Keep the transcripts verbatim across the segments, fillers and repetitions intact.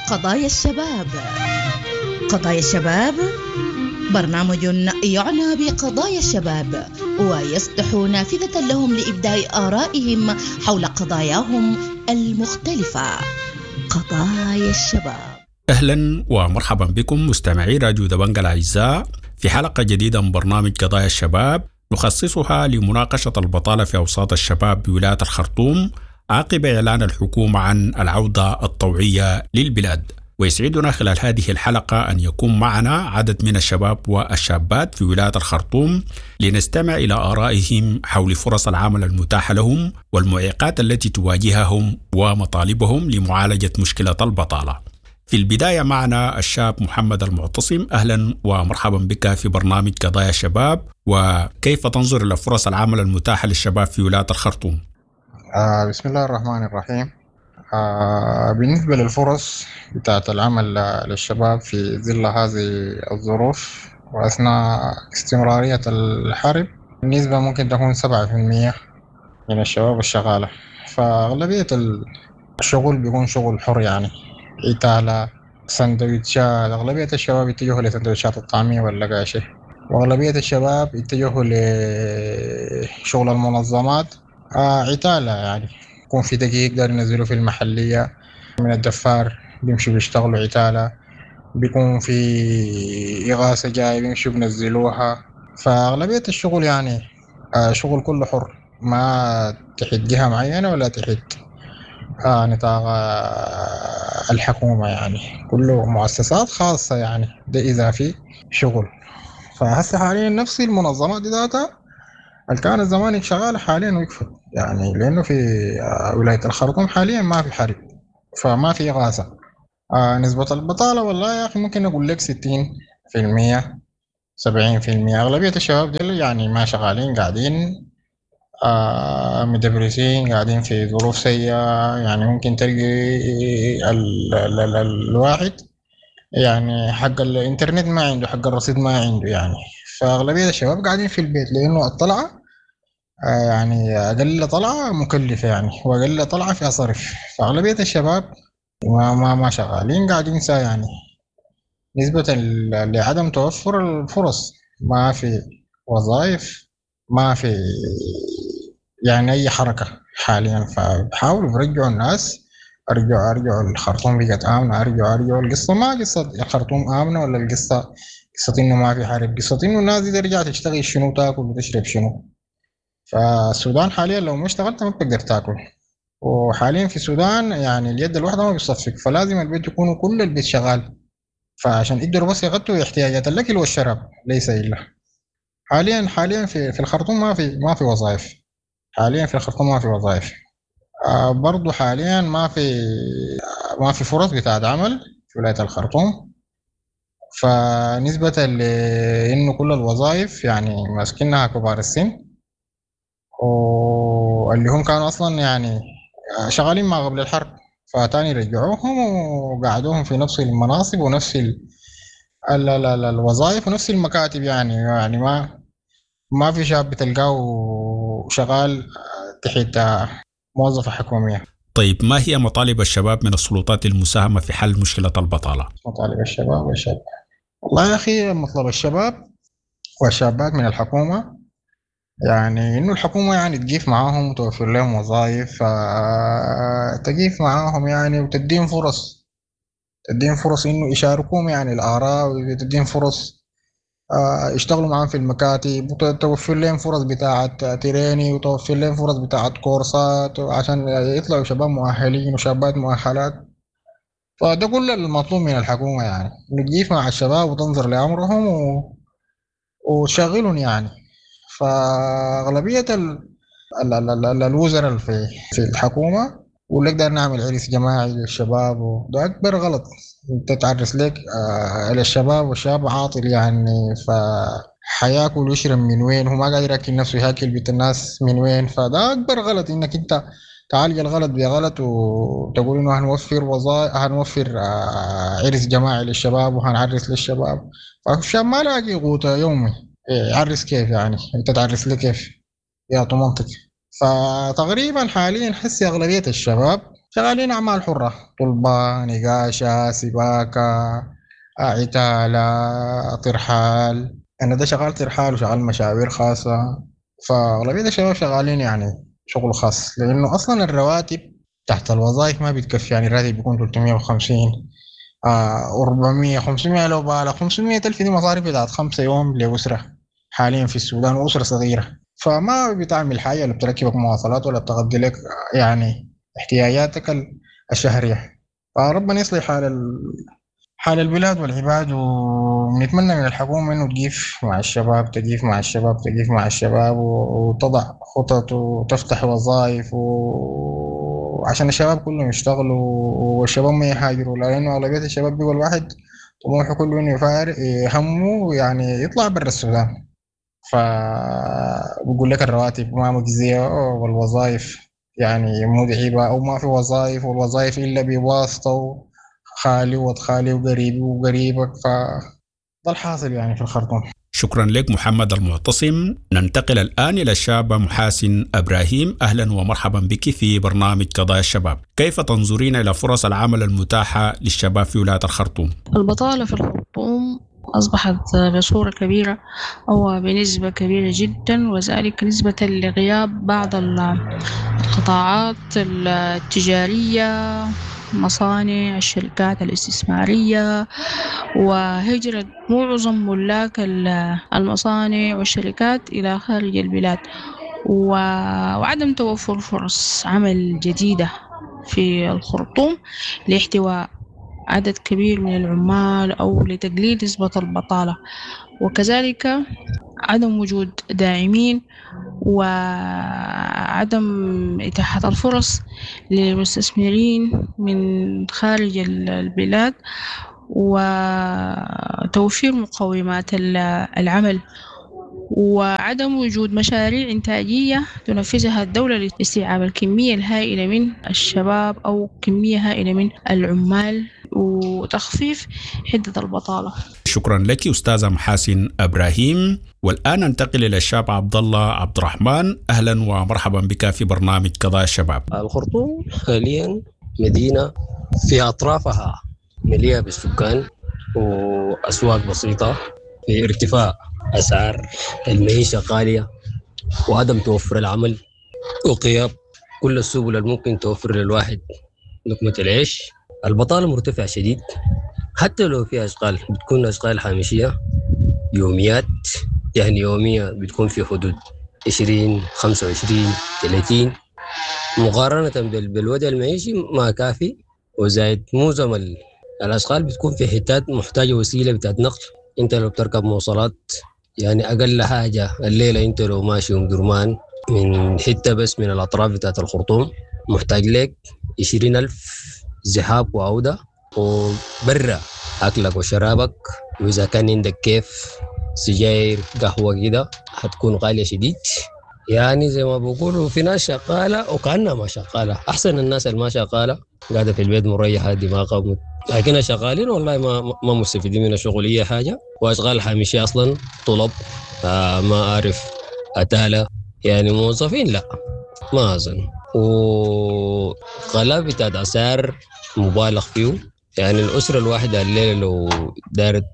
قضايا الشباب. قضايا الشباب برنامج يعنى بقضايا الشباب ويفتح نافذة لهم لإبداء آرائهم حول قضاياهم المختلفة. قضايا الشباب. أهلا ومرحبا بكم مستمعي راديو دبنجا الأعزاء في حلقة جديدة من برنامج قضايا الشباب نخصصها لمناقشة البطالة في أوساط الشباب بولاية الخرطوم عقب إعلان الحكومة عن العودة الطوعية للبلاد. ويسعدنا خلال هذه الحلقة أن يكون معنا عدد من الشباب والشابات في ولاية الخرطوم لنستمع إلى آرائهم حول فرص العمل المتاحة لهم والمعيقات التي تواجههم ومطالبهم لمعالجة مشكلة البطالة. في البداية معنا الشاب محمد المعتصم، أهلا ومرحبا بك في برنامج قضايا الشباب، وكيف تنظر إلى فرص العمل المتاحة للشباب في ولاية الخرطوم؟ آه بسم الله الرحمن الرحيم. آه بالنسبة للفرص بتاعت العمل للشباب في ظل هذه الظروف وأثناء استمرارية الحرب، النسبة ممكن تكون سبعة في المية من الشباب الشغالة، فأغلبية الشغل بيكون شغل حر، يعني إتالة، سندويتشات. أغلبية الشباب يتجهوا لسندويتشات الطعمية واللقاشة، وأغلبية الشباب يتجهوا لشغل المنظمات، آه عتالة، يعني يكون في دقيق يقدر ينزلوا في المحلية من الدفار بيمشوا بيشتغلوا عتالة، بيكون في إغاثة جاي بيمشوا بنزلوها. فأغلبية الشغل يعني آه شغل كله حر، ما تحت جهة معينة ولا تحت آه نطاق آه الحكومة، يعني كله مؤسسات خاصة، يعني ده إذا في شغل. فهسه حاليا نفس المنظمات دي ذاتها اللي كانت زمان شغالة حاليا وقفت، يعني لأنه في ولاية الخرطوم حاليا ما في حرب، فما في إغاثة. آه نسبة البطالة والله يا أخي ممكن أقول لك ستين في المية سبعين في المية. أغلبية الشباب دي يعني ما شغالين، قاعدين آه مدبرسين، قاعدين في ظروف سيئة. يعني ممكن تلقي ال ال ال الواحد يعني حق الإنترنت ما عنده، حق الرصيد ما عنده، يعني فأغلبية الشباب قاعدين في البيت لأنه الطلعة آه يعني أقل طلعة مكلفة، يعني وأقل طلعة فيها صرف. فأغلبية الشباب ما ما ما شغالين، قاعدين سا، يعني نسبة لعدم توفر الفرص، ما في وظائف، ما في يعني أي حركة حاليا. فبحاولوا برجعوا الناس، أرجعوا أرجعوا الخرطوم بقت آمنة، أرجعوا أرجعوا. القصة ما قصة الخرطوم آمنة ولا القصة قصة إنه ما في حرب، قصة إنه الناس دي ترجع تشتغل شنو، تاكل وتشرب شنو. فالسودان حاليا لو ما اشتغلت ما بتقدر تاكل، وحاليا في السودان يعني اليد الواحدة ما بتصفق، فلازم البيت يكون كل البيت شغال، فعشان يقدروا بس يغطوا احتياجات الأكل والشراب ليس إلا. حاليا حاليا في في الخرطوم ما في ما في وظائف، حاليا في الخرطوم ما في وظائف. آه برضو حاليا ما في ما في فرص بتاعت عمل في ولاية الخرطوم، فنسبة لأنه كل الوظائف يعني ماسكينها كبار السن، واللي هم كانوا أصلا يعني شغالين ما قبل الحرب، فتاني رجعوهم وقعدوهم في نفس المناصب ونفس ال ال ال ال الوظائف ونفس المكاتب. يعني يعني ما ما في شاب بتلقاه شغال تحت موظفة حكومية. طيب، ما هي مطالب الشباب من السلطات للمساهمة في حل مشكلة البطالة؟ مطالب الشباب والشابات، والله يا أخي مطلب الشباب والشابات من الحكومة يعني إنه الحكومة يعني تقيف معاهم وتوفر لهم وظائف، تقيف معاهم يعني وتديهم فرص، تديهم فرص إنه يشاركوهم يعني الآراء، وتديهم فرص يشتغلوا معاهم في المكاتب، وتوفر لهم فرص بتاعة تريني، وتوفر لهم فرص بتاعة كورسات عشان يطلعوا شباب مؤهلين وشابات مؤهلات. فده كل المطلوب من الحكومة، يعني إنه تقيف مع الشباب وتنظر لأمرهم و... وتشغلهم يعني. فأغلبية ال... ال... ال... ال... الوزراء في في الحكومة يقول لك داير نعمل عرس جماعي للشباب، وده أكبر غلط. أنت تعرس لك آه للشباب والشاب عاطل، يعني فحياكل ويشرب من وين، هو ما قادر ياكل نفسه، ياكل بيت الناس من وين. فده أكبر غلط إنك أنت تعالج الغلط بغلط وتقول إنه هنوفر وظائف، هنوفر آه عرس جماعي للشباب وهنعرس للشباب. فالشاب ما لاقي قوته يومي، يعرس كيف يعني؟ أنت تعرس لي كيف؟ يا منطق. فتقريبا حاليا حسي أغلبية الشباب شغالين أعمال حرة، طلبة، نقاشة، سباكة، عتالة، ترحال. أنا ده شغال ترحال وشغال مشاوير خاصة، فأغلبية الشباب شغالين يعني شغل خاص، لأنه أصلا الرواتب تحت الوظائف ما بتكفي. يعني الراتب بيكون ثلاثمية وخمسين، آه، أربعمية، خمسمية لو بالغ، خمسمية ألف دي مصاريف بتاعت خمسة يوم لأسرة حاليا في السودان، وأسرة صغيرة، فما بتعمل حاجة، لا بتركبك مواصلات ولا بتغطي لك يعني احتياجاتك الشهرية. فربنا يصلح حال ال-، حال البلاد والعباد، ونتمنى من الحكومة إنه تقيف مع الشباب، تقيف مع الشباب، تقيف مع الشباب، وتضع خطط وتفتح وظائف و-، عشان الشباب كلهم يشتغلوا والشباب ما يهاجروا، لأنه أغلبية الشباب بيقول واحد طموحه كله إنه يفارق همه يعني يطلع برا السودان، فبقول لك الرواتب ما مجزية والوظائف يعني متعبة أو ما في وظائف، والوظائف إلا بواسطة خالي وخالي وقريبي وقريبك، فده الحاصل يعني في الخرطوم. شكرا لك محمد المعتصم. ننتقل الآن إلى الشابة محاسن إبراهيم. أهلا ومرحبا بك في برنامج قضايا الشباب. كيف تنظرين إلى فرص العمل المتاحة للشباب في ولاية الخرطوم؟ البطالة في الخرطوم أصبحت بصورة كبيرة أو بنسبة كبيرة جدا، وذلك نسبة لغياب بعض القطاعات التجارية، مصانع، الشركات الاستثمارية، وهجرة معظم ملاك المصانع والشركات إلى خارج البلاد، وعدم توفر فرص عمل جديدة في الخرطوم لاحتواء عدد كبير من العمال أو لتقليل نسبة البطالة، وكذلك عدم وجود داعمين وعدم إتاحة الفرص للمستثمرين من خارج البلاد وتوفير مقومات العمل، وعدم وجود مشاريع إنتاجية تنفذها الدولة لاستيعاب الكمية الهائلة من الشباب أو كمية هائلة من العمال وتخفيف حدة البطالة. شكرا لك أستاذة محاسن إبراهيم. والآن ننتقل إلى الشاب عبد الله عبد الرحمن. أهلا ومرحبا بك في برنامج قضايا الشباب. الخرطوم حاليا مدينة في أطرافها مليئة بالسكان وأسواق بسيطة، في ارتفاع أسعار المعيشة غالية وعدم توفر العمل وغياب كل السبل الممكن توفر للواحد لقمة العيش. البطالة مرتفعة شديد، حتى لو في أشغال بتكون أشغال هامشية يوميات، يعني يومية بتكون في حدود عشرين خمسة وعشرين ثلاثين، مقارنة بالوضع المعيشي ما كافي. وزائد معظم الأشغال بتكون في حتات محتاجة وسيلة بتاعت نقل. انت لو بتركب مواصلات يعني أقل حاجة الليلة انت لو ماشي أم درمان من حتة بس من الأطراف بتاعت الخرطوم محتاج لك عشرين ألف ذهاب وعودة، وبرا أكلك وشرابك، وإذا كان عندك كيف سجاير قهوة كده هتكون غالية شديد. يعني زي ما بقولوا في ناس شغالة وكأنها ما شغالة، أحسن الناس اللي ما شغالة قاعدة في البيت مريحة دماغها، لكن شغالين والله ما ما مستفيدين من الشغل أي حاجة. وأشغال هامشية أصلا طلب آه ما أعرف أتالة، يعني موظفين لا ما أظن. وغلاء بتاعت أسعار مبالغ فيه، يعني الأسرة الواحدة الليلة لو دارت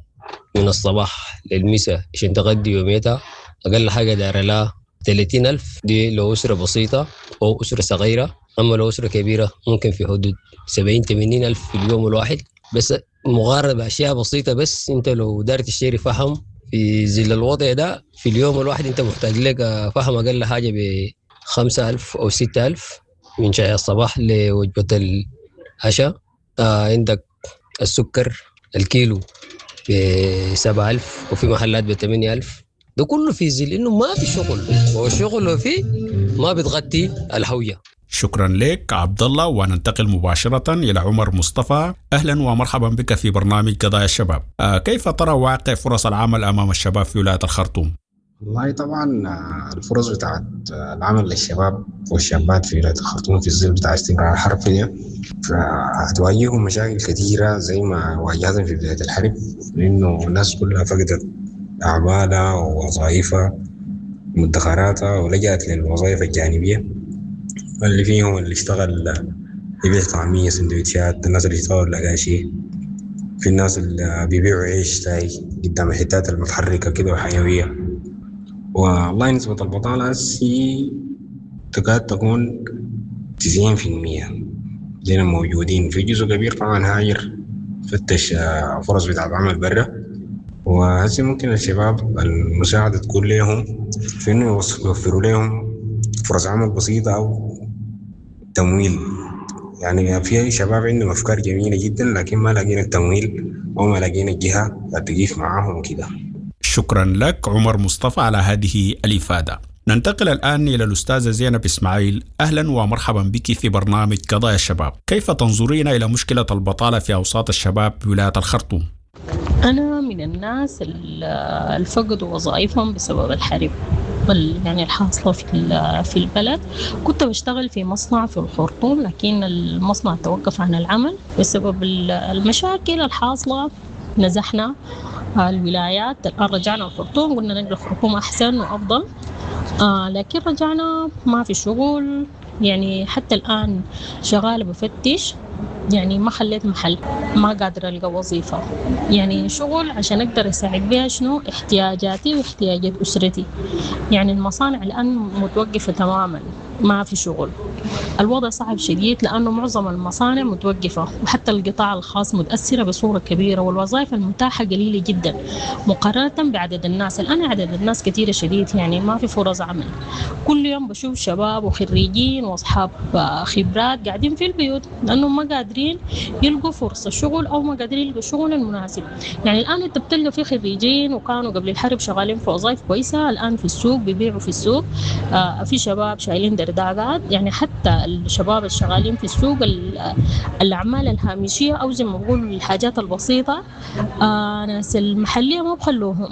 من الصباح للمساء عشان تغدي يوميتها أقل حاجة دار لها ثلاثين ألف، دي لو أسرة بسيطة أو أسرة صغيرة. أما لو أسرة كبيرة ممكن في حدود سبعين ثمانين ألف في اليوم الواحد، بس مقارنة بأشياء بسيطة. بس أنت لو دارت تشتري فحم في ظل الوضع ده في اليوم الواحد أنت محتاج لك فحم أقل حاجة بخمسة ألف أو ستة ألف من شاي الصباح لوجبة العشاء. آه عندك السكر الكيلو بسبعة ألف وفي محلات بثمانية ألف. ده كله في ظل إنه ما في شغل، والشغل لو فيه ما بتغطي الهوية. شكرا لك عبد الله. وننتقل مباشرة إلى عمر مصطفى. أهلا ومرحبا بك في برنامج قضايا الشباب. آه كيف ترى واقع فرص العمل أمام الشباب في ولاية الخرطوم؟ والله طبعا الفرص بتاعت العمل للشباب والشابات في ولاية الخرطوم في الظل بتاع استمرار الحرب دي فهتواجههم مشاكل كثيرة زي ما واجهتهم في بداية الحرب، لأنه الناس كلها فقدت أعمالها ووظائفها ومدخراتها ولجأت للوظائف الجانبية، اللي فيهم اللي اشتغل يبيع طعمية، سندوتشات، الناس اللي يشتغلوا الأقاشي، في الناس اللي بيبيعوا عيش تاي قدام الحتات المتحركة كده وحيوية. والله نسبة البطالة هسي تكاد تكون تسعين في المية دينا موجودين. في جزء كبير طبعا هاجر فتش فرص بتاع عمل برا، وهسي ممكن الشباب المساعدة تكون لهم في إنه يوفروا لهم فرص عمل بسيطة أو تمويل. يعني في شباب عندهم أفكار جميلة جدا لكن ما لاقين التمويل أو ما لاقين الجهة تقيف معاهم وكده. شكرا لك عمر مصطفى على هذه الإفادة. ننتقل الآن إلى الأستاذة زينب إسماعيل. أهلا ومرحبا بك في برنامج قضايا الشباب. كيف تنظرين إلى مشكلة البطالة في أوساط الشباب بولاية الخرطوم؟ أنا من الناس اللي فقدوا وظائفهم بسبب الحرب يعني الحاصلة في في البلد. كنت بشتغل في مصنع في الخرطوم، لكن المصنع توقف عن العمل بسبب المشاكل الحاصلة. نزحنا الولايات، الآن رجعنا الخرطوم، قلنا نقل الخرطوم أحسن وأفضل، آه لكن رجعنا ما في شغل. يعني حتى الآن شغالة بفتش، يعني ما خليت محل، ما قادرة ألقى وظيفة، يعني شغل عشان أقدر أساعد بها شنو احتياجاتي واحتياجات أسرتي. يعني المصانع الآن متوقفة تماما، ما في شغل. الوضع صعب شديد لأنه معظم المصانع متوقفة، وحتى القطاع الخاص متأثرة بصورة كبيرة، والوظائف المتاحة قليلة جدا مقارنة بعدد الناس. الآن عدد الناس كثيرة شديد، يعني ما في فرص عمل. كل يوم بشوف شباب وخريجين وأصحاب خبرات قاعدين في البيوت لأنهم ما قادرين يلقوا فرصة شغل أو ما قادرين يلقوا شغل المناسب. يعني الآن أنت بتلقى في خريجين وكانوا قبل الحرب شغالين في وظائف كويسة، الآن في السوق بيبيعوا في السوق. آه في شباب شايلين درداقات، يعني حتى الشباب الشغالين في السوق الأعمال الهامشية أو زي ما بقولوا الحاجات البسيطة، آه ناس المحلية ما بخلوهم.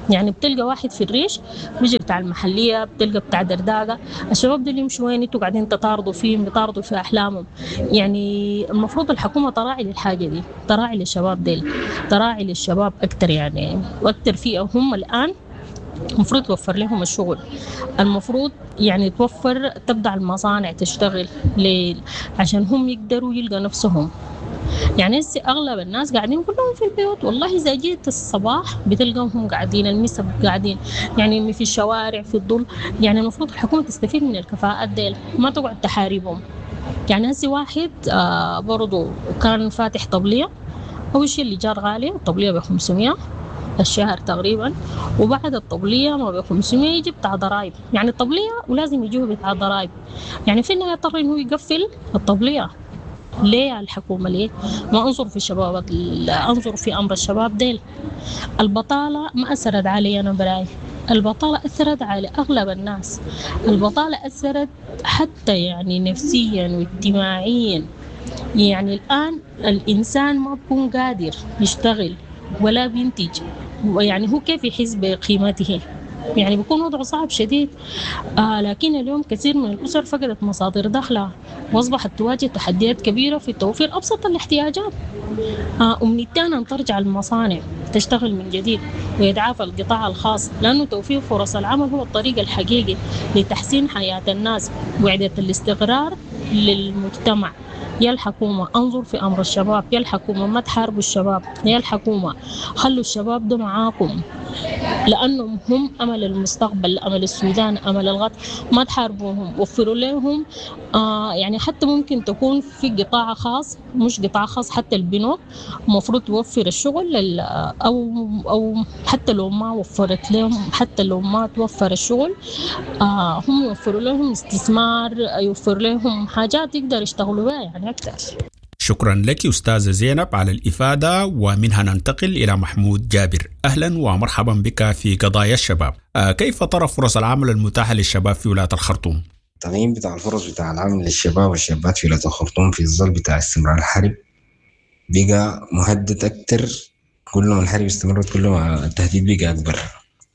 يعني بتلقى واحد في الريش بيجي بتاع المحلية، بتلقى بتاع درداقة. الشباب دول يمشوا وين؟ انتوا قاعدين تطاردوا فيهم، بيطاردوا في أحلامهم. يعني المفروض الحكومة تراعي للحاجة دي، تراعي للشباب ديل، تراعي للشباب أكتر، يعني وأكتر فئة هم الآن المفروض توفر لهم الشغل. المفروض يعني توفر، تبدأ المصانع تشتغل ليل عشان هم يقدروا يلقوا نفسهم. يعني هسه أغلب الناس قاعدين كلهم في البيوت، والله إذا جيت الصباح بتلقاهم قاعدين، المسا قاعدين، يعني في الشوارع في الظل. يعني المفروض الحكومة تستفيد من الكفاءات ديل، ما تقعد تحاربهم. يعني هسه واحد آه برضو كان فاتح طبلية، أول شيء اللي جار غالي، الطبلية ب خمسمية الشهر تقريبا، وبعد الطبلية ما ب خمسمية يجي بتاع ضرايب. يعني الطبلية ولازم يجيه بتاع ضرايب، يعني في النهاية اضطر إنه يقفل الطبلية. ليه الحكومة ليه ما أنظر في الشباب، أنظر في أمر الشباب ديل. البطالة ما أثرت علي أنا براي، البطالة أثرت على أغلب الناس. البطالة أثرت حتى يعني نفسيا واجتماعيا. يعني الآن الإنسان ما بيكون قادر يشتغل ولا بينتج، يعني هو كيف يحس بقيمته؟ يعني بيكون وضعه صعب شديد. آه لكن اليوم كثير من الأسر فقدت مصادر دخلها وأصبحت تواجه تحديات كبيرة في توفير أبسط الاحتياجات. آه أمنيتنا أن ترجع المصانع تشتغل من جديد ويتعافى القطاع الخاص، لأنه توفير فرص العمل هو الطريق الحقيقي لتحسين حياة الناس وإعادة الاستقرار للمجتمع. يا الحكومة انظر في أمر الشباب، يا الحكومة ما تحاربوا الشباب، يا الحكومة خلوا الشباب ده معاكم لأنهم هم أمل المستقبل، أمل السودان، أمل الغد. ما تحاربوهم، وفروا لهم آه يعني حتى ممكن تكون في قطاع خاص، مش قطاع خاص، حتى البنوك المفروض توفر الشغل لل أو أو حتى لو ما وفرت لهم، حتى لو ما توفر الشغل آه هم يوفروا لهم استثمار، يوفر لهم حاجات يقدر يشتغلوا بها يعني أكثر. شكرا لك أستاذة زينب على الإفادة، ومنها ننتقل إلى محمود جابر. أهلا ومرحبا بك في قضايا الشباب. كيف ترى فرص العمل المتاحة للشباب في ولاية الخرطوم؟ التقييم بتاع الفرص بتاع العمل للشباب والشابات في ولاية الخرطوم في الظل بتاع استمرار الحرب بقى مهدد أكتر. كل ما الحرب استمرت كل ما التهديد بقى أكبر،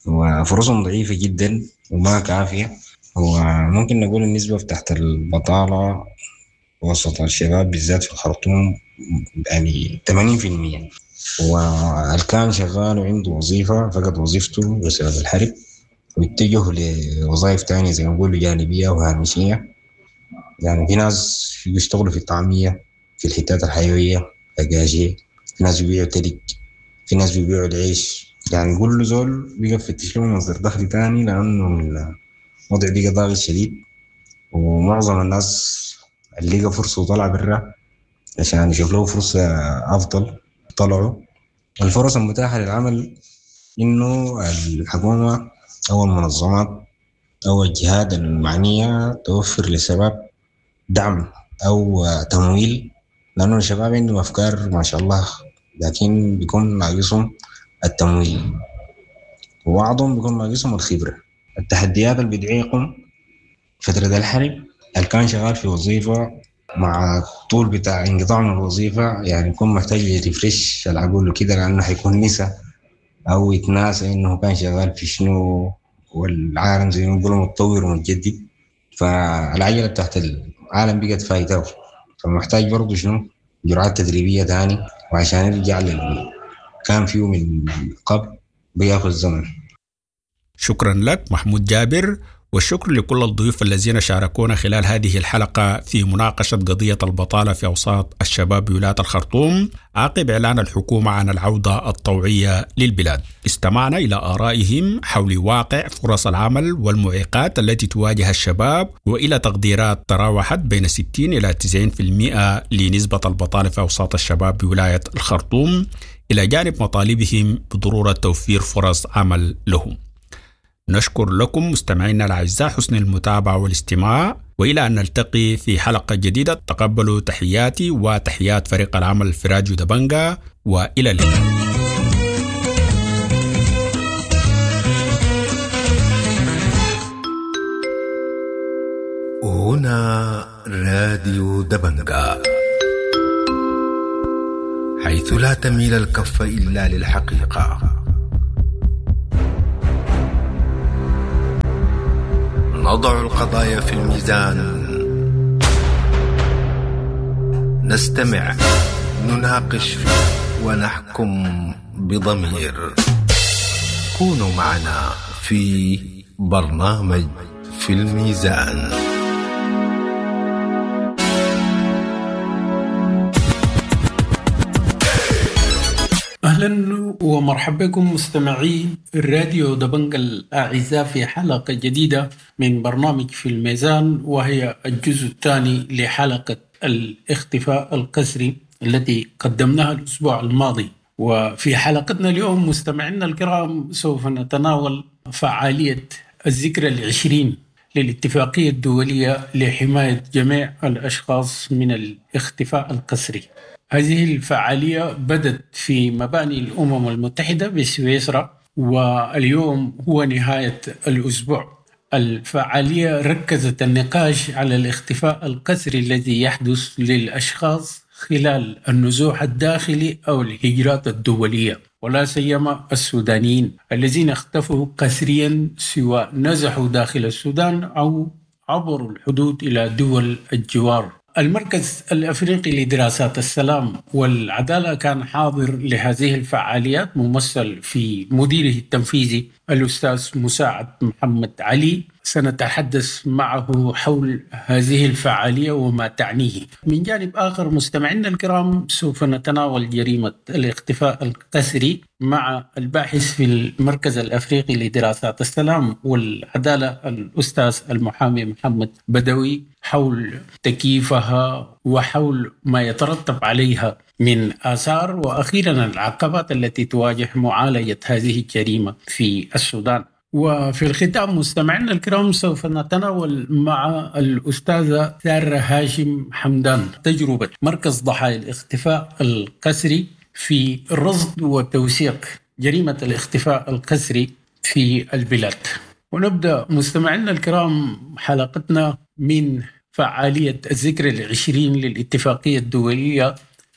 وفرصهم ضعيفة جدا وما كافية. وممكن نقول النسبة بتاعت البطالة وسط الشباب بالذات في الخرطوم يعني ثمانين في المية، والكان شغال وعنده وظيفة فقد وظيفته بسبب الحرب واتجه لوظائف تانية زي ما نقولوا جانبية وهامشية. يعني في ناس بيشتغلوا في الطعمية في الحتات الحيوية القاشية، في ناس بيبيعوا تلج، في ناس بيبيعوا العيش. يعني كل زول بقى يفتش له مصدر دخل تاني، لأنه الوضع بقى ضاغط شديد، ومعظم الناس اللي لقى فرصة وطلع برا عشان يشوف له فرصة أفضل طلعوا. الفرص المتاحة للعمل إنه الحكومة أو المنظمات أو الجهات المعنية توفر للشباب دعم أو تمويل، لأنه الشباب عندهم أفكار ما شاء الله، لكن بيكون ناقصهم التمويل، وبعضهم بيكون ناقصهم الخبرة. التحديات اللي بتعيقهم فترة الحرب، اللي كان شغال في وظيفة مع طول بتاع انقطاع من الوظيفة يعني يكون محتاج يرفرش العقول وكده، لأنه حيكون نسى أو يتناسى إنه كان شغال في شنو، والعالم زي ما بيقولوا متطور ومتجدد، فالعجلة بتاعت العالم بقت فايته، فمحتاج برضه شنو جرعات تدريبية تاني، وعشان يرجع لل كان فيه من قبل بياخذ زمن. شكرا لك محمود جابر، والشكر لكل الضيوف الذين شاركونا خلال هذه الحلقة في مناقشة قضية البطالة في أوساط الشباب بولاية الخرطوم عقب إعلان الحكومة عن العودة الطوعية للبلاد. استمعنا إلى آرائهم حول واقع فرص العمل والمعيقات التي تواجه الشباب، وإلى تقديرات تراوحت بين ستين إلى تسعين بالمئة لنسبة البطالة في أوساط الشباب بولاية الخرطوم، إلى جانب مطالبهم بضرورة توفير فرص عمل لهم. نشكر لكم مستمعينا الأعزاء حسن المتابعة والاستماع، وإلى أن نلتقي في حلقة جديدة تقبلوا تحياتي وتحيات فريق العمل في راديو دبنجا، وإلى اللقاء. هنا راديو دبنجا، حيث لا تميل الكف إلا للحقيقة. نضع القضايا في الميزان، نستمع، نناقش، ونحكم بضمير. كونوا معنا في برنامج في الميزان. أهلا ومرحبا بكم مستمعي الراديو دبنجا الأعزاء في حلقة جديدة من برنامج في الميزان، وهي الجزء الثاني لحلقة الاختفاء القسري التي قدمناها الأسبوع الماضي. وفي حلقتنا اليوم مستمعينا الكرام سوف نتناول فعالية الذكرى العشرين للاتفاقية الدولية لحماية جميع الأشخاص من الاختفاء القسري. هذه الفعالية بدت في مباني الأمم المتحدة بسويسرا، واليوم هو نهاية الأسبوع. الفعالية ركزت النقاش على الاختفاء القسري الذي يحدث للأشخاص خلال النزوح الداخلي أو الهجرات الدولية، ولا سيما السودانيين الذين اختفوا قسريا سواء نزحوا داخل السودان أو عبروا الحدود إلى دول الجوار. المركز الأفريقي لدراسات السلام والعدالة كان حاضر لهذه الفعاليات، ممثل في مديره التنفيذي الأستاذ مساعد محمد علي. سنتحدث معه حول هذه الفعالية وما تعنيه. من جانب آخر مستمعينا الكرام سوف نتناول جريمة الاختفاء القسري مع الباحث في المركز الأفريقي لدراسات السلام والعدالة الأستاذ المحامي محمد بدوي حول تكييفها وحول ما يترتب عليها من آثار، وأخيرا العقبات التي تواجه معالجة هذه الجريمة في السودان. وفي الختام مستمعينا الكرام سوف نتناول مع الأستاذة سارة هاشم حمدان تجربة مركز ضحايا الاختفاء القسري في رصد وتوثيق جريمة الاختفاء القسري في البلاد. ونبدأ مستمعينا الكرام حلقتنا من فعالية الذكرى العشرين للاتفاقية الدولية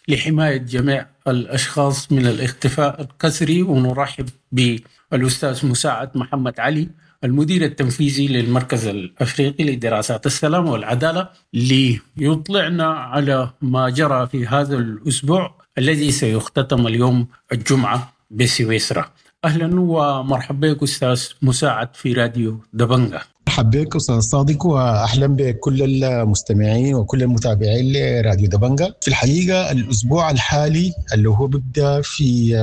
لحماية جميع الأشخاص من الاختفاء القسري، ونرحب بالأستاذ مساعد محمد علي المدير التنفيذي للمركز الأفريقي لدراسات السلام والعدالة ليطلعنا على ما جرى في هذا الأسبوع الذي سيختتم اليوم الجمعة بسويسرا. أهلا ومرحبا بك أستاذ مساعد في راديو دبنجا. مرحبا بك أستاذ صادق، وأهلا بكل المستمعين وكل المتابعين لراديو دبنجة. في الحقيقة الأسبوع الحالي اللي هو بيبدأ في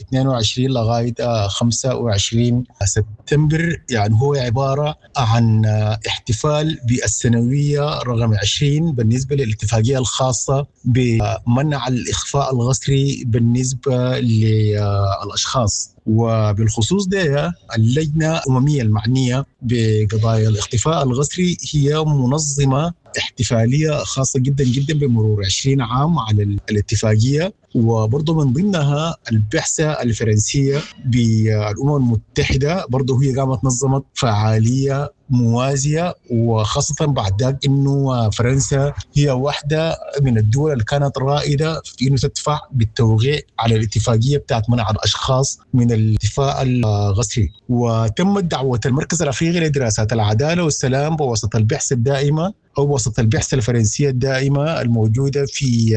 اثنين وعشرين لغاية خمسة وعشرين سبتمبر، يعني هو عبارة عن احتفال بالسنوية رقم عشرين بالنسبة للاتفاقية الخاصة بمنع الإخفاء القسري بالنسبة للأشخاص، وبالخصوص ده اللجنة الأممية المعنية بقضايا الاختفاء القسري هي منظمة احتفالية خاصة جدا جدا بمرور عشرين عام على الاتفاقية، وبرضه من ضمنها البعثة الفرنسية بالأمم المتحدة برضه هي قامت نظمت فعالية موازية، وخاصة بعد ذاك إنه فرنسا هي واحدة من الدول اللي كانت رائدة في إنه تدفع بالتوقيع على الاتفاقية بتاعت منع الأشخاص من الاختفاء القسري. وتمت دعوة المركز الأفريقي لدراسات العدالة والسلام بواسطة البعثة الدائمة أو وسط البعثة الفرنسية الدائمة الموجودة في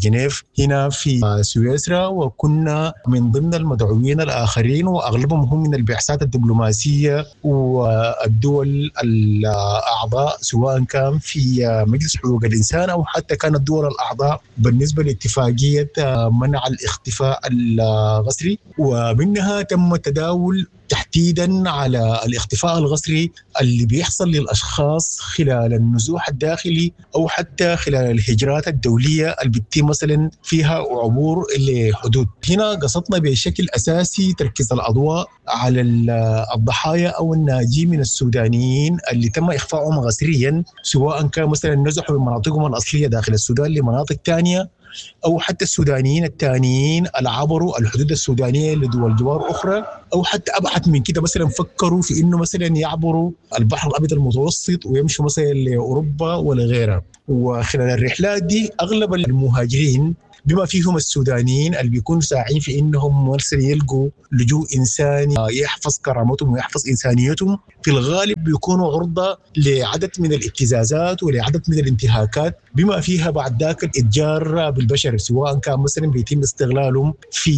جنيف هنا في سويسرا، وكنا من ضمن المدعوين الآخرين وأغلبهم هم من البعثات الدبلوماسية والدول الأعضاء، سواء كان في مجلس حقوق الإنسان أو حتى كانت الدول الأعضاء بالنسبة لاتفاقية منع الاختفاء القسري. ومنها تم التداول تحديدا على الاختفاء القسري اللي بيحصل للأشخاص خلال النزوح الداخلي أو حتى خلال الهجرات الدولية اللي بتتم مثلا فيها عبور لحدود. هنا قصدنا بشكل أساسي تركيز الأضواء على الضحايا أو الناجين من السودانيين اللي تم إخفائهم قسريا، سواء كان مثلا نزحوا من مناطقهم الأصلية داخل السودان لمناطق تانية، أو حتى السودانيين الثانيين اللي عبروا الحدود السودانية لدول جوار أخرى، أو حتى أبعد من كده مثلا فكروا في إنه مثلا يعبروا البحر الأبيض المتوسط ويمشوا مثلا لأوروبا ولا غيرها. وخلال الرحلات دي أغلب المهاجرين بما فيهم السودانيين اللي بيكونوا ساعين في إنهم مثلا يلقوا لجوء إنساني يحفظ كرامتهم ويحفظ إنسانيتهم، في الغالب بيكونوا عرضة لعدد من الابتزازات ولعدد من الانتهاكات، بما فيها بعد ذاك الاتجار بالبشر، سواء كان مثلا بيتم استغلالهم في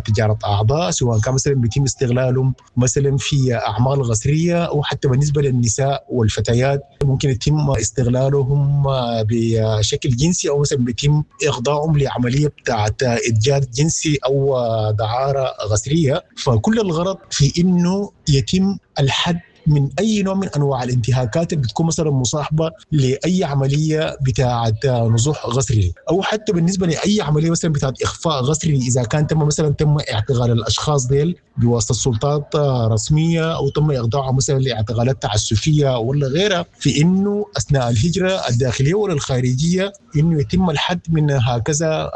تجارة أعضاء، سواء كان مثلا بيتم استغلالهم مثلا في أعمال قسرية، أو حتى بالنسبة للنساء والفتيات ممكن يتم استغلالهم بشكل جنسي، أو مثلا بيتم إخضاعهم لعملية بتاعت إتجار جنسي أو دعارة قسرية. فكل الغرض في إنه يتم الحد من أي نوع من أنواع الانتهاكات اللي بتكون مثلا مصاحبة لأي عملية بتاعة نزوح قسري، أو حتى بالنسبة لأي عملية مثلا بتاعة إخفاء قسري إذا كان تم مثلا تم اعتقال الأشخاص ديل بواسطة سلطات رسمية، أو تم إخضاعهم مثلا لاعتقالات تعسفية ولا غيرها، في إنه أثناء الهجرة الداخلية ولا الخارجية إنه يتم الحد من هكذا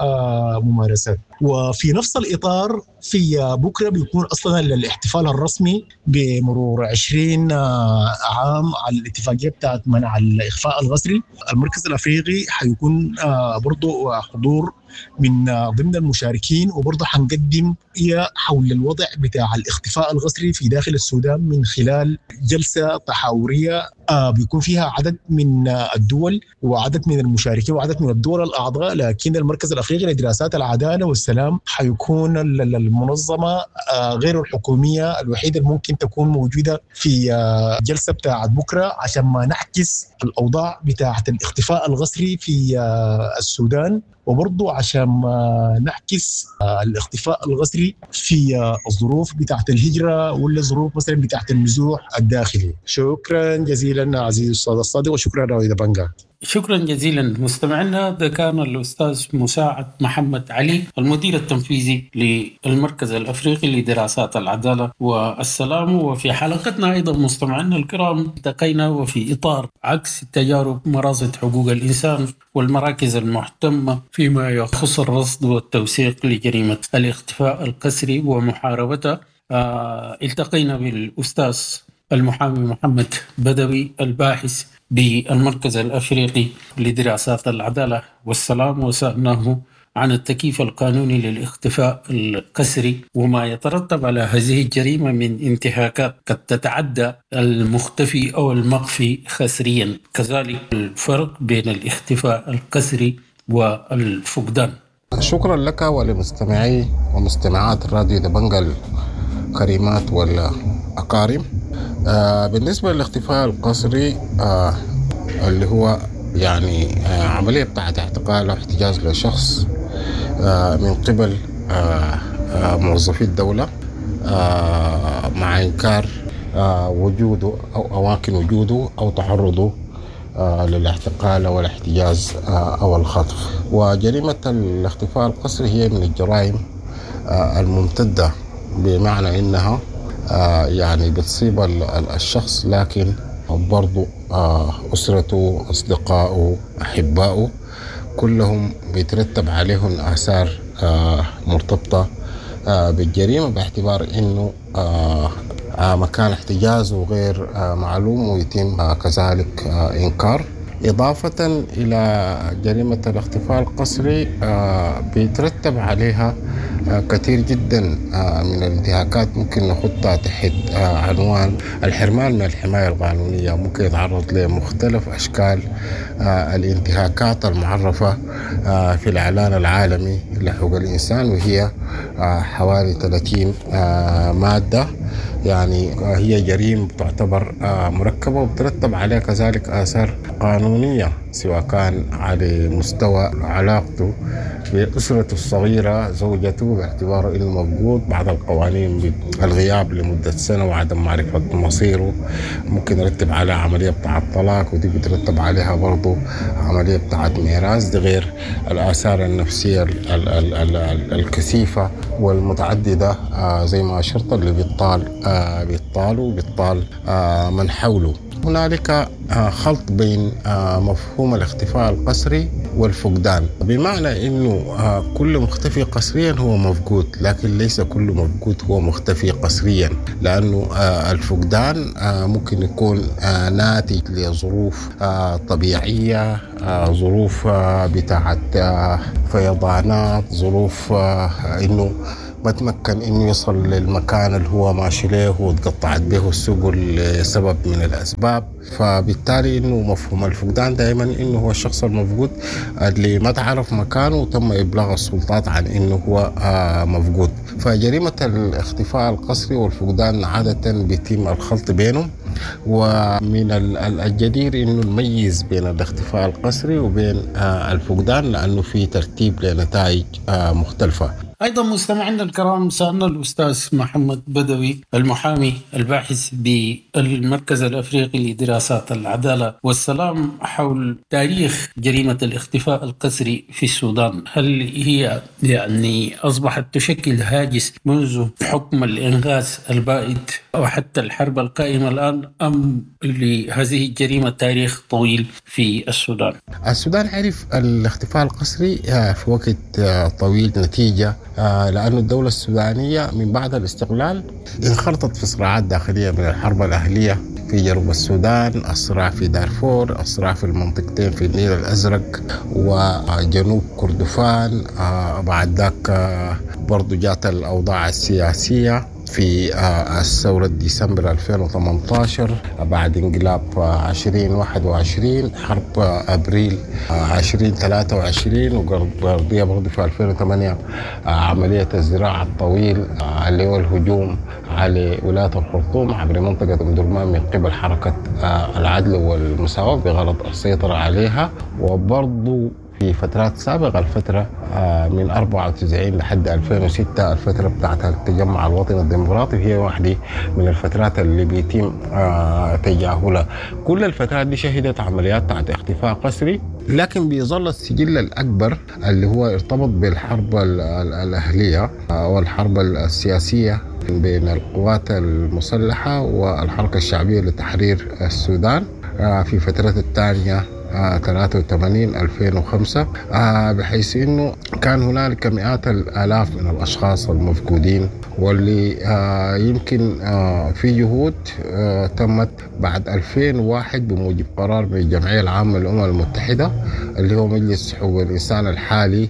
ممارسات. وفي نفس الإطار في بكرة بيكون أصلا الاحتفال الرسمي بمرور عشرين عام على الاتفاقية بتاعت منع الإخفاء القسري. المركز الأفريقي حيكون برضو حضور من ضمن المشاركين، وبرضه حنقدم حول الوضع بتاع الاختفاء القسري في داخل السودان من خلال جلسة تحاورية بيكون فيها عدد من الدول وعدد من المشاركين وعدد من الدول الأعضاء. لكن المركز الأفريقي لدراسات العدالة والسلام حيكون المنظمة غير الحكومية الوحيدة اللي ممكن تكون موجودة في جلسة بتاعت بكرة، عشان ما نعكس الأوضاع بتاعت الاختفاء القسري في السودان، وبرضو عشان ما نعكس الاختفاء القسري في الظروف بتاعت الهجرة ولا الظروف مثلا بتاعت النزوح الداخلي. شكرا جزيلا عزيزي الأستاذ الصادق، وشكرا راوي دبنجا. شكرا جزيلا مستمعينا. ده كان الأستاذ مساعد محمد علي، المدير التنفيذي للمركز الأفريقي لدراسات العدالة والسلام. وفي حلقتنا أيضا مستمعينا الكرام التقينا وفي إطار عكس تجارب مراصد حقوق الإنسان والمراكز المهتمة فيما يخص الرصد والتوثيق لجريمة الاختفاء القسري ومحاربتها. آه التقينا بالأستاذ المحامي محمد بدوي الباحث بالمركز الأفريقي لدراسات العدالة والسلام، وسألناه عن التكييف القانوني للاختفاء القسري وما يترتب على هذه الجريمة من انتهاكات قد تتعدى المختفي أو المخفي قسريا، كذلك الفرق بين الاختفاء القسري والفقدان. شكرا لك ولمستمعي ومستمعات الراديو دبنجل الكريمات والأكارم. بالنسبة للاختفاء القسري اللي هو يعني عملية بتاعت اعتقال أو احتجاز لشخص من قبل موظفي الدولة مع إنكار وجوده أو أماكن وجوده أو تعرضه للاعتقال أو الاحتجاز أو الخطف. وجريمة الاختفاء القسري هي من الجرائم الممتدة، بمعنى إنها يعني بتصيب الشخص لكن برضو أسرته، أصدقائه، أحبائه كلهم بيترتب عليهم آثار مرتبطة بالجريمة، باعتبار إنه مكان احتجازه غير معلوم ويتم كذلك إنكار. إضافة إلى جريمة الاختفاء القسري بيترتب عليها كثير جدا من الانتهاكات ممكن نحطها تحت عنوان الحرمان من الحماية القانونية، ممكن يتعرض لمختلف أشكال الانتهاكات المعرفة في الإعلان العالمي لحقوق الإنسان، وهي حوالي ثلاثين مادة. يعني هي جريمة تعتبر مركبة وبترتب عليها كذلك آثار قانونية، سواء كان على مستوى علاقته بأسرته الصغيرة، زوجته، باعتباره إنه مفقود، بعض القوانين بالغياب لمدة سنة وعدم معرفة مصيره، ممكن يرتب على عملية بتاعة طلاق، ودي بترتب عليها برضو عملية بتاعة ميراث، دي غير الآثار النفسية ال ال ال ال الكثيفة والمتعددة زي ما أشرت اللي بيطال بيطال وبيطال من حوله. هنالك خلط بين مفهوم الاختفاء القسري والفقدان، بمعنى أنه كل مختفي قسريا هو مفقود، لكن ليس كل مفقود هو مختفي قسريا، لأنه الفقدان ممكن يكون ناتج لظروف طبيعية، ظروف بتاعت فيضانات، ظروف أنه ما تمكن إنه يصل للمكان اللي هو ماشي له وتقطعت به السبل لسبب من الأسباب. فبالتالي إنه مفهوم الفقدان دائما إنه هو الشخص المفقود اللي ما تعرف مكانه وتم إبلاغ السلطات عن إنه هو مفقود. فجريمة الاختفاء القسري والفقدان عادة بيتم الخلط بينهم، ومن الجدير إنه نميز بين الاختفاء القسري وبين الفقدان لأنه في ترتيب لنتائج مختلفة. أيضا مستمعينا الكرام، سألنا الأستاذ محمد بدوي المحامي الباحث بالمركز الأفريقي لدراسات العدالة والسلام حول تاريخ جريمة الاختفاء القسري في السودان، هل هي يعني أصبحت تشكل هاجس منذ حكم الإنغاز البائد أو حتى الحرب القائمة الآن، أم لهذه الجريمة تاريخ طويل في السودان؟ السودان عرف الاختفاء القسري في وقت طويل نتيجة لأن الدولة السودانية من بعد الاستقلال انخرطت في صراعات داخلية من الحرب الأهلية في جنوب السودان، الصراع في دارفور، الصراع في المنطقتين في النيل الأزرق وجنوب كردفان، بعد ذاك برضو جات الأوضاع السياسية في الثورة ديسمبر ألفين وثمانية عشر، بعد انقلاب عشرين واحد وعشرين، حرب أبريل عشرين ثلاثة وعشرين، وقضية برضو في ألفين وثمانية عملية الزراعة الطويل اللي هو الهجوم على ولاية الخرطوم عبر منطقة أم درمان من قبل حركة العدل والمساواة بغرض السيطرة عليها. وبرضو في فترات سابقة، الفترة من أربعة وتسعين لحد ألفين وستة، الفترة بتاعت التجمع الوطني الديمقراطي، هي واحدة من الفترات اللي بيتم تجاهلها. كل الفترات دي شهدت عمليات بتاعت اختفاء قسري، لكن بيظل السجل الأكبر اللي هو ارتبط بالحرب الأهلية والحرب السياسية بين القوات المسلحة والحركة الشعبية لتحرير السودان في فترة الثانية ثلاثة وثمانين ألفين وخمسة، بحيث أنه كان هنالك مئات الآلاف من الأشخاص المفقودين، واللي يمكن في جهود تمت بعد ألفين وواحد بموجب قرار من الجمعية العامة للأمم المتحدة اللي هو مجلس حقوق الإنسان الحالي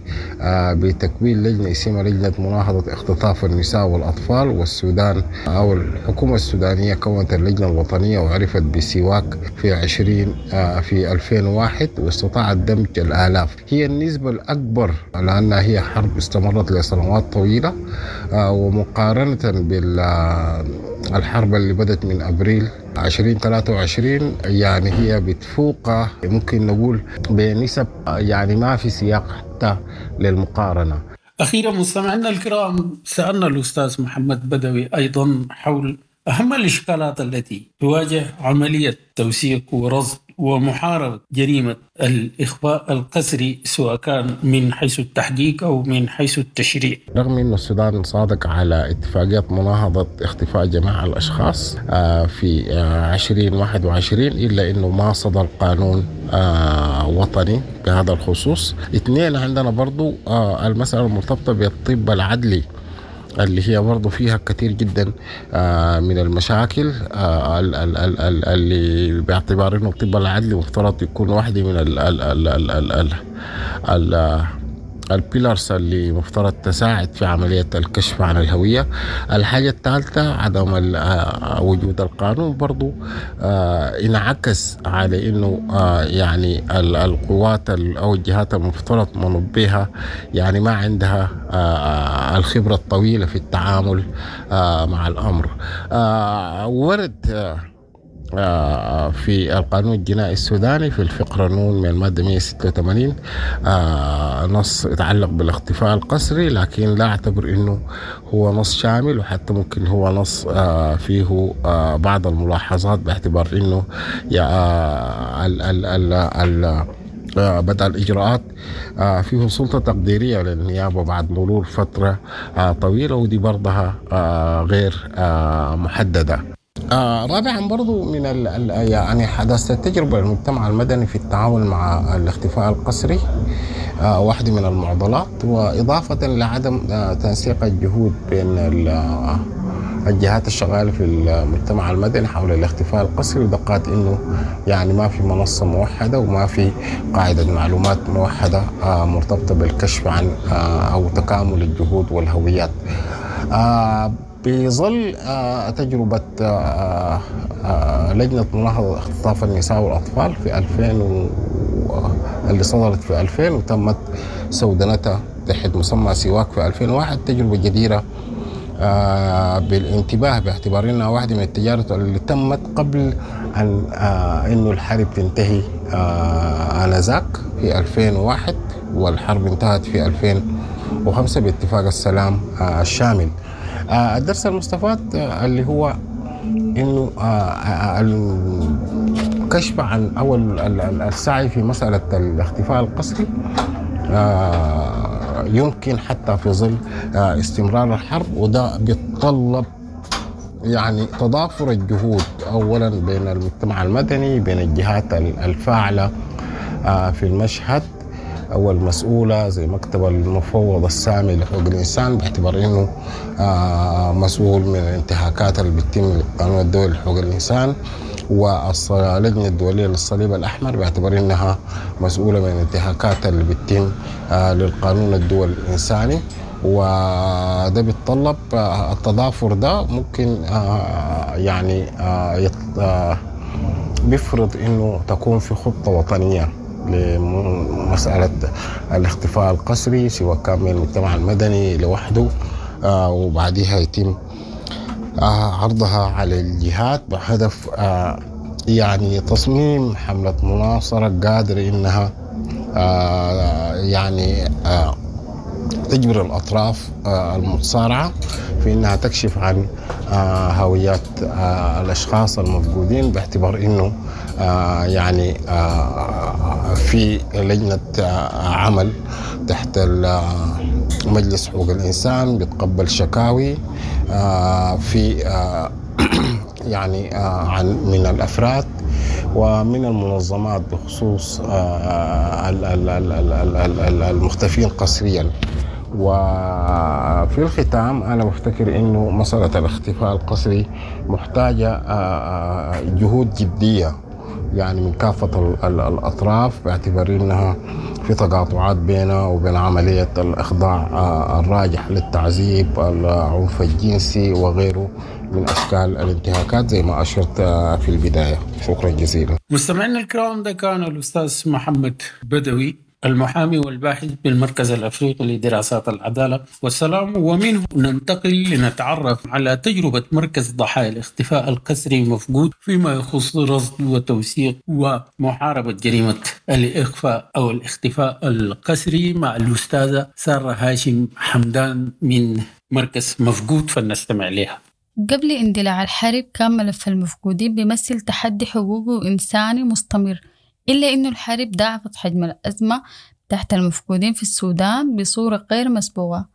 بتكوين لجنة اسمها لجنة مناهضة اختطاف النساء والأطفال. والسودان أو الحكومة السودانية كونت اللجنة الوطنية وعرفت بسواك في عشرين في ألفين ألفين وواحد واستطاعت دمج الآلاف. هي النسبة الأكبر لأنها هي حرب استمرت لسنوات طويلة، ومقارنة بالحرب اللي بدت من أبريل عشرين ثلاثة وعشرين يعني هي بتفوق ممكن نقول بنسب يعني ما في سياق حتى للمقارنة. أخيرا مستمعينا الكرام، سألنا الأستاذ محمد بدوي أيضا حول أهم الإشكالات التي تواجه عملية توثيق ورصد ومحاربة جريمة الإخفاء القسري، سواء كان من حيث التحقيق أو من حيث التشريع. رغم أن السودان صادق على اتفاقية مناهضة اختفاء جميع الأشخاص في عشرين واحد وعشرين، إلا أنه ما صدر قانون وطني بهذا الخصوص. اثنين، عندنا برضو المسألة المرتبطة بالطب العدلي اللي هي برضو فيها كثير جدا من المشاكل اللي باعتبار انه الطب العدلي مفترض يكون واحدة من ال ال ال ال ال ال ال البيلرز اللي مفترض تساعد في عملية الكشف عن الهوية. الحاجة الثالثة عدم وجود القانون برضو انعكس على انه يعني القوات او الجهات المفترض منبهها يعني ما عندها الخبرة الطويلة في التعامل مع الامر. ورد في القانون الجنائي السوداني في الفقرة نون من المادة مئة وستة وثمانين نص يتعلق بالاختفاء القسري، لكن لا أعتبر أنه هو نص شامل، وحتى ممكن هو نص فيه بعض الملاحظات باعتبار أنه ال ال ال ال بدء الإجراءات فيه سلطة تقديرية للنيابة بعد مرور فترة طويلة، ودي برضها غير محددة. آه رابعا برضو من ال ال يعني حداثة التجربة المجتمع المدني في التعامل مع الاختفاء القسري آه واحدة من المعضلات، وإضافة لعدم آه تنسيق الجهود بين الجهات الشغالة في المجتمع المدني حول الاختفاء القسري، ودقات إنه يعني ما في منصة موحدة وما في قاعدة معلومات موحدة آه مرتبطة بالكشف عن آه أو تكامل الجهود والهويات. آه بظل تجربة لجنة مناهضة اختطاف النساء والأطفال في ألفين و... اللي صدرت في ألفين وتمت سودنتها تحت مسمى سواك في ألفين وواحد، تجربة جديرة بالانتباه باعتبار انها واحدة من التجارب اللي تمت قبل أن إنه الحرب تنتهي آنذاك في ألفين وواحد، والحرب انتهت في ألفين وخمسة باتفاق السلام الشامل. الدرس المستفاد اللي هو انه الكشف عن او السعي في مسألة الاختفاء القسري يمكن حتى في ظل استمرار الحرب، وده بيتطلب يعني تضافر الجهود اولا بين المجتمع المدني، بين الجهات الفاعلة في المشهد أو المسؤولة زي مكتب المفوض السامي لحقوق الإنسان باعتبار إنه مسؤول من الانتهاكات اللي بتتم للقانون الدولي لحقوق الإنسان، واللجنة الدولية للصليب الأحمر باعتبار إنها مسؤولة من الانتهاكات اللي بتتم للقانون الدولي الإنساني. وده بيتطلب التضافر ده ممكن يعني بيفرض إنه تكون في خطة وطنية لمسألة الاختفاء القسري سواء كان من المجتمع المدني لوحده، آه وبعدها يتم آه عرضها على الجهات بهدف آه يعني تصميم حملة مناصرة قادرة إنها آه يعني آه تجبر الأطراف آه المتصارعة في إنها تكشف عن آه هويات آه الأشخاص المفقودين، باعتبار إنه آه يعني آه في لجنة آه عمل تحت مجلس حقوق الإنسان بيتقبل شكاوي آه في آه يعني آه عن من الأفراد ومن المنظمات بخصوص آه المختفين قسريا. وفي الختام أنا بفتكر إنه مسألة الاختفاء القسري محتاجة جهود جدية يعني من كافة الأطراف، باعتبار إنها في تقاطعات بينها وبين عملية الإخضاع الراجح للتعذيب، العنف الجنسي وغيره من أشكال الانتهاكات زي ما أشرت في البداية. شكرا جزيلا. مستمعينا الكرام، ده كان الأستاذ محمد بدوي المحامي والباحث بالمركز الأفريقي لدراسات العدالة والسلام، ومنه ننتقل لنتعرف على تجربة مركز ضحايا الاختفاء القسري مفقود فيما يخص رصد وتوثيق ومحاربة جريمة الإخفاء أو الاختفاء القسري مع الأستاذة سارة هاشم حمدان من مركز مفقود، فلنستمع لها. قبل اندلاع الحرب كان ملف المفقودين بيمثل تحدي حقوقي وإنساني مستمر، إلا إنه الحرب ضاعفت حجم الأزمة تحت المفقودين في السودان بصورة غير مسبوقة،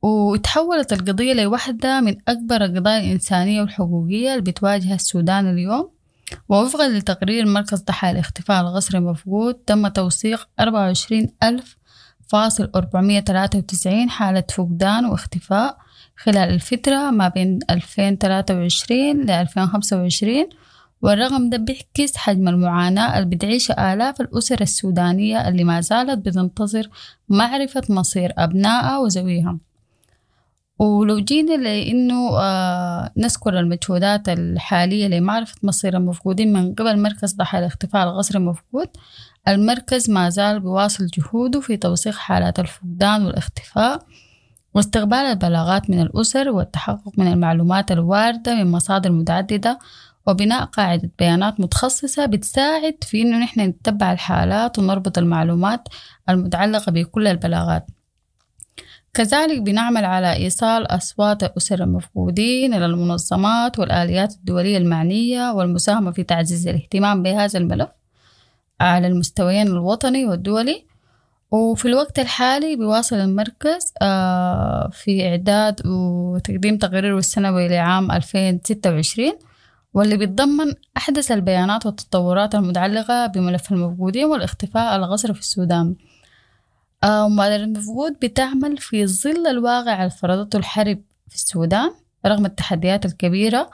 وتحولت القضية لواحدة من أكبر القضايا الإنسانية والحقوقية اللي بتواجه السودان اليوم. ووفقا لتقرير مركز ضحايا الاختفاء القسري مفقود، تم توثيق أربعة وعشرين ألف فاصل أربعمية تلاتة وتسعين حالة فقدان واختفاء خلال الفترة ما بين ألفين وتلاتة وعشرين ل ألفين وخمسة وعشرين، والرقم ده بيعكس حجم المعاناة اللي بتعيشها آلاف الأسر السودانية اللي ما زالت بتنتظر معرفة مصير أبنائها وزويها. ولو جينا لأنه آه نذكر المجهودات الحالية لمعرفة مصير المفقودين من قبل مركز ضحايا الاختفاء القسري المفقود، المركز ما زال بيواصل جهوده في توثيق حالات الفقدان والاختفاء واستقبال البلاغات من الأسر والتحقق من المعلومات الواردة من مصادر متعددة وبناء قاعدة بيانات متخصصة بتساعد في إنه نحن نتبع الحالات ونربط المعلومات المتعلقة بكل البلاغات. كذلك بنعمل على إيصال أصوات الأسر المفقودين إلى المنظمات والآليات الدولية المعنية والمساهمة في تعزيز الاهتمام بهذا الملف على المستويين الوطني والدولي. وفي الوقت الحالي بيواصل المركز في إعداد وتقديم تقريره السنوي لعام ألفين وستة وعشرين، واللي بيتضمن أحدث البيانات والتطورات المتعلقة بملف المفقودين والاختفاء القسري في السودان. ومبادرة المفقود بتعمل في ظل الواقع اللي فرضته الحرب في السودان رغم التحديات الكبيرة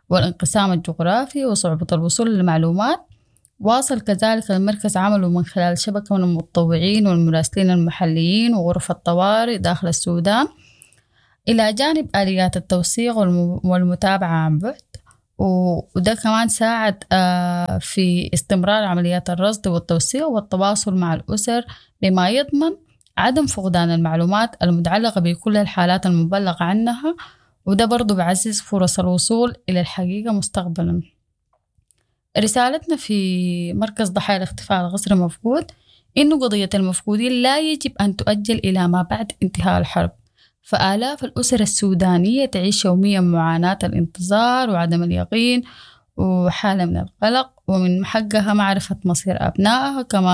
والانقسام الجغرافي وصعوبة الوصول للمعلومات. واصل كذلك المركز عمله من خلال شبكة من المتطوعين والمراسلين المحليين وغرف الطوارئ داخل السودان، إلى جانب آليات التوثيق والمتابعة عن بعد. وده كمان ساعد في استمرار عمليات الرصد والتوثيق والتواصل مع الأسر، بما يضمن عدم فقدان المعلومات المتعلقة بكل الحالات المبلغ عنها، وده برضو بعزز فرص الوصول إلى الحقيقة مستقبلا. رسالتنا في مركز ضحايا الاختفاء القسري المفقود إنه قضية المفقودين لا يجب أن تؤجل إلى ما بعد انتهاء الحرب، فآلاف الأسر السودانية تعيش يوميا معاناة الانتظار وعدم اليقين وحالة من القلق، ومن حقها معرفة مصير أبنائها كما